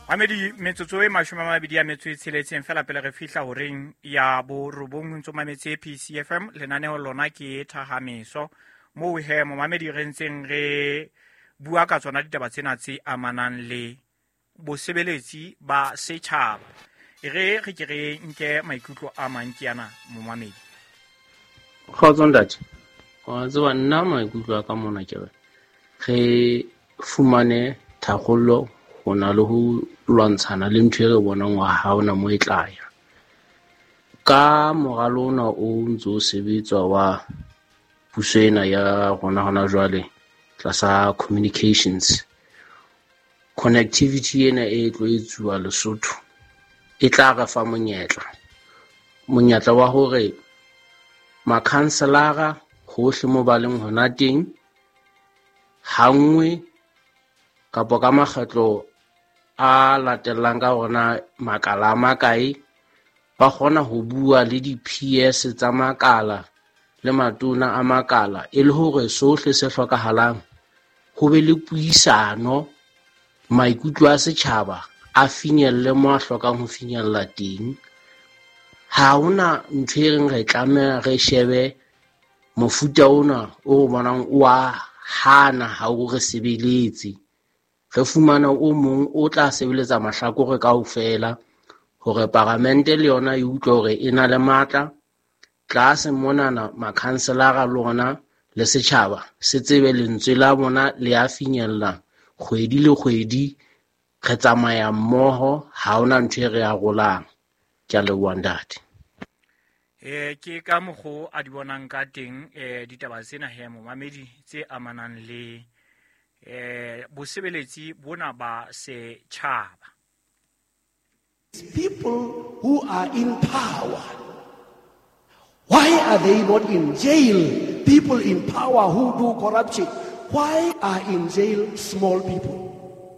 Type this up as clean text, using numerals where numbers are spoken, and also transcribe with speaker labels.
Speaker 1: Mamedi, metsotso e 26 fela pele re fihla horeng ya borobong. Ntso mametse PCFM, lenaneo lona ke Thahameso. Moo he momamedi re ntseng re bua ka tsona ditaba tsena tse amanang le bosebeletsi ba setjhaba. E re re ke re nke maikutlo a mang ke ana momamedi.
Speaker 2: Kgotso ntate, wa tseba nna maikutlo a ka mona ke re re fumane tharollo ho na le ho lwantshana le ntho e re bonang hore ha hona moo e tla ya. Ka moralo ona o ntso o sebetswa wa puso ena ya rona hona jwale tlasa communications, connectivity ena e tlo etsuwa Lesotho e tla re fa monyetla, monyetla wa hore makhanselara hohle mo ba leng hona teng ha nngwe kapa ka makgetlo a latellang ka hore makala a makae ba kgona ho bua le di-PS tsa makala le matona a makala, e le hore sohle se hlokahalang ho be le puisano, maikutlo a setjhaba a finyelle mo a hlokang ho finyella teng. Ha hona ntho e reng re tlameha re shebe mofuta ona o bonang o a hana ha o re sebeletse, re fumana o mong o tla sebeletsa mahlakore kaofela hore paramente le yona e utlwe hore e na le matla. Tlase monana makhanselara le ona le setjhaba se tsebe lentswe la bona le a finyella kgwedi le kgwedi, re tsamaya mmoho, ha hona ntho e re arolang. Ke a leboha ntate.
Speaker 1: Ke ka mokgo a di bonang ka teng ditaba tsena he momamedi tse amanang le bosebeletsi bona ba setjhaba.
Speaker 3: People who are in power, why are they not in jail? People in power who do corruption, why are in jail small people?